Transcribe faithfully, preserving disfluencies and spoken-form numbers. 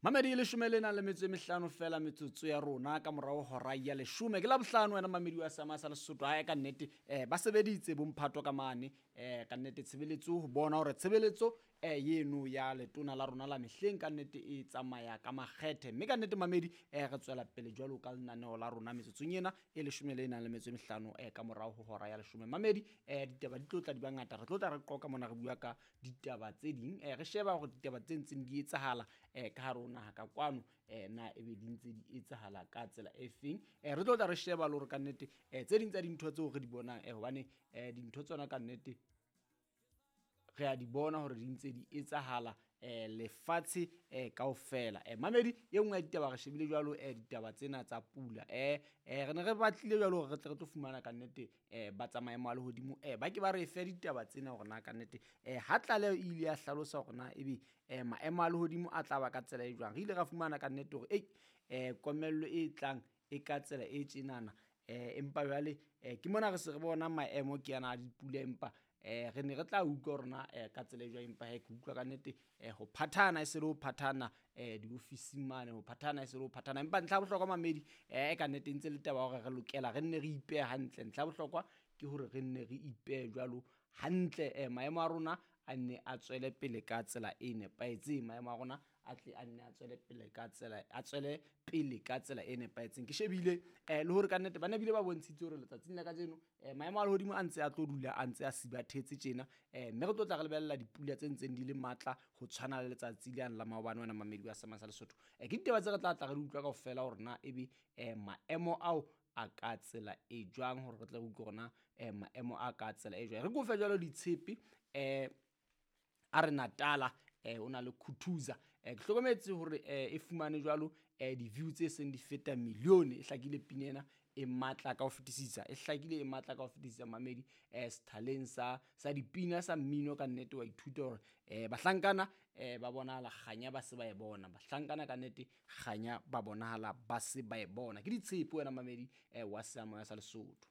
Mamedi leshome le nang le metso e mehlano fela metsotso ya rona ka morao hora ya leshome. Ke Labohlano wena mamedi wa Seama sa Lesotho. Hae ka nnete eh ba sebeditse bomphato ka mane eh ka nnete tshebeletso ho bona hore tshebeletso eh yeno ya letona la rona la mehleng ka nnete e tsamaya ka makgethe. Mme ka nnete mamedi eh re tswela pele jwalo ka lenaneo la rona metsotsong ena e leshome le nang le metso e mehlano eh ka morao ho hora ya leshome. Mamedi eh ditaba di tlo tla di ba ngata, re tlo tla re qoqa mona re bua ka ditaba tse ding eh re sheba hore ditaba tse ntseng di etsahala eh ka hare ho naha ka kwano eh na ebe di ntse di etsahala ka tsela e feng. Eh re tlo tla re sheba le hore ka nnete eh tse ding tsa dintho tseo re di bonang eh hobane eh dintho tsona ka nnete re a di bona hore di ntse di etsahala eh lefatshe eh kaofela. Eh mamedi e nngwe ya ditaba re shebile jwalo eh ditaba tsena tsa pula eh eh re ne re batlile jwalo hore re tle re tlo fumana ka nnete eh ba tsa maemo a lehodimo eh ba ke ba re fe ditaba tsena hore na ka nnete eh ha tlaleho e ile ya hlalosa hore na ebe eh maemo a lehodimo a tla ba ka tsela e jwang. Re ile ra fumana ka nnete hore ei eh komello e tlang e ka tsela e tjenana eh empa jwale eh ke mona re se re bona maemo ke ana a dipula empa eh re ne re tla utlwa hore na eh ka tsela e jwang, empa he ke utlwa ka nnete eh ho phathana e se le ho phathana eh diofising mane, ho phathana e se le ho phathana. Empa ntlha ya bohlokwa mamedi eh ka nnete ntse le taba ya hore re lokela re nne re ipehe hantle. Ntlha ya bohlokwa ke hore re nne re ipehe jwalo hantle eh maemo a rona a nne a tswele pele ka tsela e nepahetseng, maemo a rona a tle a nne a tswele pele ka tsela a tswele pele ka tsela e nepahetseng. Ke shebile eh le hore ka nnete ba ne bile ba bontshitse hore letsatsing la kajeno eh maemo a lehodimo a ntse a tlo dula a ntse a sibathetse tjena eh mme re tlo tla re lebella dipula tse ntseng di le matla ho tshwana le letsatsi le yang la maobane wena mamedi wa Seama sa Lesotho. Eh ke ditaba tse re tla tla re di utlwa kaofela hore na ebe eh maemo ao a ka tsela e jwang, hore re tle re utlwe hore na eh maemo a ka tsela e jwang. Re kofe jwalo ditshepe eh a re Natala eh o na le Khuthuza eh ke hlokometse hore eh e fumane jwalo eh di-view tse seng di feta milione. E hlakile pina ena e matla ka ho fetisisa, e hlakile e matla ka ho fetisisa mamedi eh sethaleng sa sa dipina sa mmino. Ka nnete wa ithuta hore eh bahlankana eh ba bonahala kganya ba se ba e bona, bahlankana ka nnete kganya ba bonahala ba se ba e bona. Ke ditshepe wena mamedi eh wa Seama sa Lesotho.